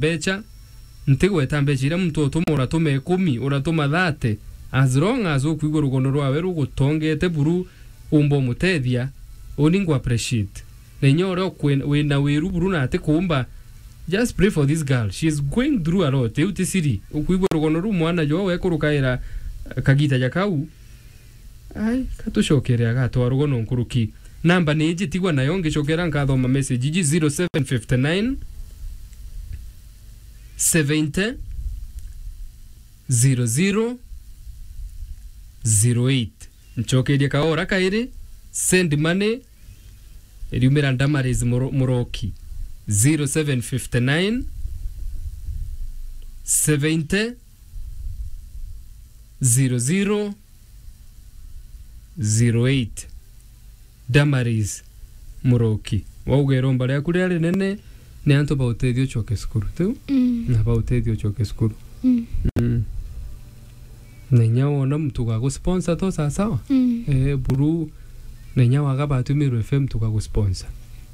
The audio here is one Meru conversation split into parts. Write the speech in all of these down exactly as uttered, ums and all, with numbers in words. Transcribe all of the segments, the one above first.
mbecha, ntigweta mbecha iria muntu utuma, uratuma ikumi, uratuma thate, as long as ukwigua rugono rwawe rugutongete buru, umba umutethia, uni ngu appreciate. Na inya uria ukwi-, wina wiru buru na ati kuumba, just pray for this girl. She is going through a lot. Iu ti siri. Ukwigua rugono ruu mwana jwa wekurukaira kagita ja kau. Ai, katucokere agatwa rugono nkuruki. Namba ni iji, tigwa nayo, ngicokera nkathoma message iji: zero seven fifty nine, seventy, zero zero, zero eight. Ncokerie kaora kairi, send money, iriumira Damaris Muro-, Muroki. Zero seven fifty nine, seventy, zero zero, zero eight. Damaris Muroki. Wauga iromba riaku riria rinene ni antu ba utethio ucoke cukuru, tiu? Mm. Na ba utethio ucoke cukuru. Mm. Mm. Na inya wona muntu ugagusponsor to sawa sawa? Mm. Eh, buru, na inya waga batu Meru F M tukagusponsor.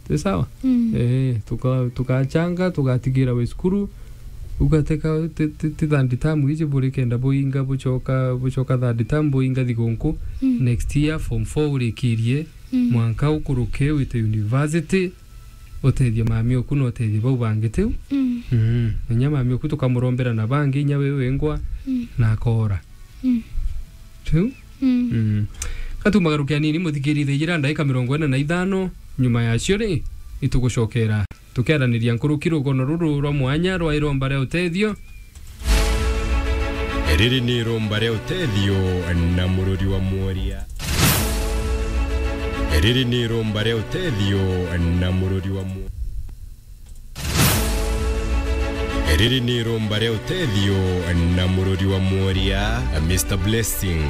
Ti sawa? Mm. Eh, tuka-, tukachanga, tugatigira wi cukuru, ugateka ti, ti, ti third term iji buri kenda buinga, bucoka, bucoka third term buinga thigunku. Mm. Next year form four urikirie, mm, mwanka ukuruke wite university, utethie mami oku na utethie bau bangi, tiu? Mm. Mm. Inya mami oku tukamurombera na bangi, inya wi wingwa, mm, na akora. Mm. Tiu? Mm. Mm. Katumagaruke anini, muthikiririe, thaa ijiri na ndagika mirongo ina na ithano, nyuma yacio ri, itugucokera tukiaraniria nkuruki rugono ruru rwa mwanya rwa iromba ria utethio. Riri ni iromba ria utethio na mururi wa mworia. Riri ni iromba ria utethio na mururi wa mwo-, riri ni iromba ria utethio na mururi wa mworia, Mister Blessing.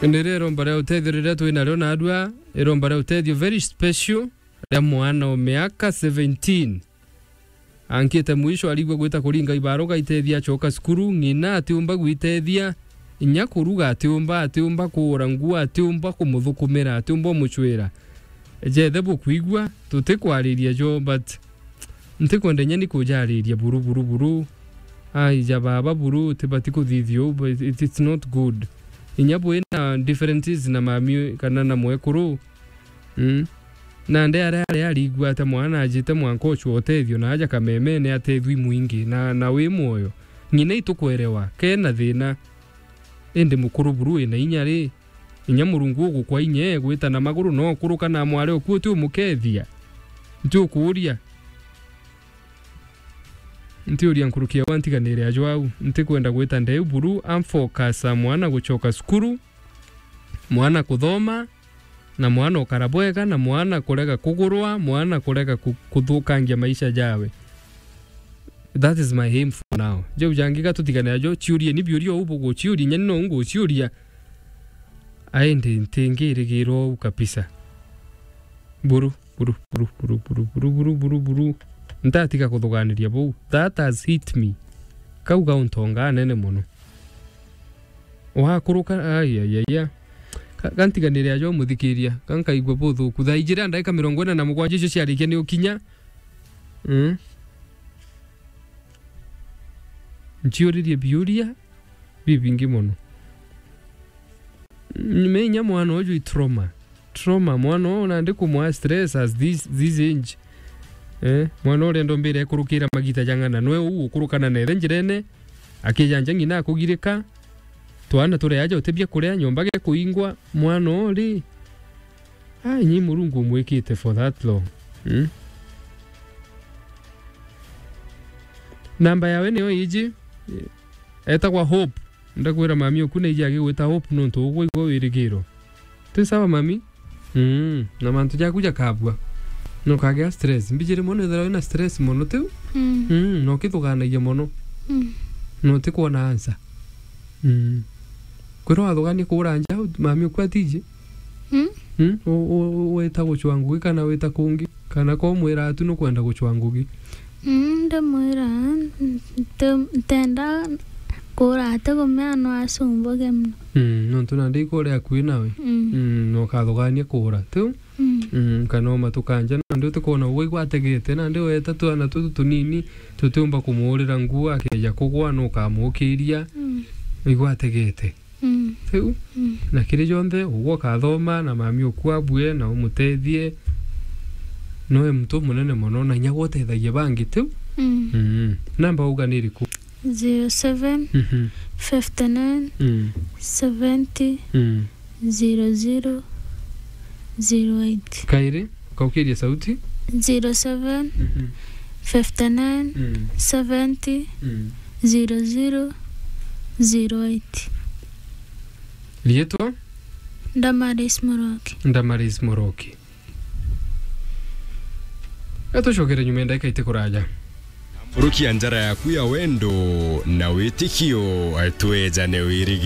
Ni rio iromba ria utethio riria twi nario narua, iromba ria utethio very special ria mwana o miaka seventeen. Ankite mwisho, arigua gwita kuringa ibaruga itethia acoka cukuru, ng'ina atiumba gwitethia, inya kuruga atiumba, atiumba kuura nguo, atiumba kumuthukumira, atiumba umucwira. Jethe bukwigua, tutikwariria jo, but ntikwenda inya ni kujariria buru, buru, buru. Ai, ja baba buru, tibati kuthithia uu, but it, it's not good. Inya bwina differences na mami kana na mwekuru, mm, nande aria ari arigua ata mwana ajite mwanka ocwa utethio na aja kamemene atethwi mwingi na, na wi mwoyo. Ng'ina itukwerewa, kena thina. Indi mukuru buru wina inya ri, inya Murungu ugukwa inya, gwita na maguru no ukuruka na mwari oku uti umukethia. Nti ukuuria. Ntiuria nkuruki ya wantiganire ajo au. Ntikwenda gwita ndeu buru, am focus a mwana gucoka cukuru, mwana kuthoma, na mwana ukara bwega, na mwana kurega kugurwa, mwana kurega ku-, kuthukangia maisha jawe. That is my aim for now. Jau jangi ga tutigane ajo, ciurie ni biuria u buguciuria, inya ni no nguciuria. Aindi ntingirigirwa uu kabisa. Buru, buru, buru. Ntatiga kuthuganiria buu. That has hit me. Kau gauntonga anene mono. Wakuruka, ai, ai, ai, ai. Ka-, gantiganire ajo muthikiria, gankaigua buthuku. Thaa ijiri na ndagika mirongo ina na mugwanja icio ciarikia ni ukinya. Mm. Nciuririe biuria bibingi mono. Menya mwana uju i trauma. Trauma, mwana uu nandi kumwa stress as this, this age. Eh, mwana urenda mbira ekurukira magita jang'ana, nwe uu ukurukana nethe njirene, akijanja ng'ina akugirika, twana turi aja utibia kuria, nyomba gekuingwa, mwana uu ri, ai, nyi Murungu umwikite for that long. Hmm? Namba yawe niyo iji, etagwa Hope. Ndakwira mami oku na iji agigwita Hope nontu ugwa igwa wirigiro. Ti sawa mami? Mm, na mantu jaku jakabua. Nokagea stress. Mbijiri mono ethira wina stress mono tiu? Mm. Mm, nokithuganagia mono. Mm. Notikwona answer. Mm. Kwirwa wathugania kuura nja, mami oku atiji? Mm? Mm? U-, u-, u-, wita gucwa ngugi kana wita kungi? Kana ko mwira atu nukwenda gucwa ngugi? Mm, ndimwira, nti-, ntenda kuura ati kumea no acumbuge mono. Mm, nontu nandi ikuria akui nawe. Mm. Mm, nokathugania kuura, tiu? Mm. Mm, kana oma tukanja, nandi utikwona ugwe igwategete, nandi weta twana tutu tunini, tutiumba kumuurira nguo, akeja kugwa, nukamukiria. Mm. Igwategete. Mm. Tiu? Mm. Na kiri jonthe, ugwe ukathoma, na mami uku abue, na umutethie. Noe muntu umunene mono, na inya gwe utethagia bangi, tiu? Mm. Mm. Namba uga ni iriku? Zero seven, Mhm. fifty nine, Mm. seventy, Mm. zero zero, zero eight. Kairi, ukaukiria sauti. Zero seven, Mhm. fifty nine, Mm. seventy, Mm. zero zero, zero eight. Riitwa? Damaris Moroki. Damaris Moroki. Gatucokere nyuma ya ndagika iti kuraja. Mburukia njara yaku ya wendo na witikio, twejane wirigi.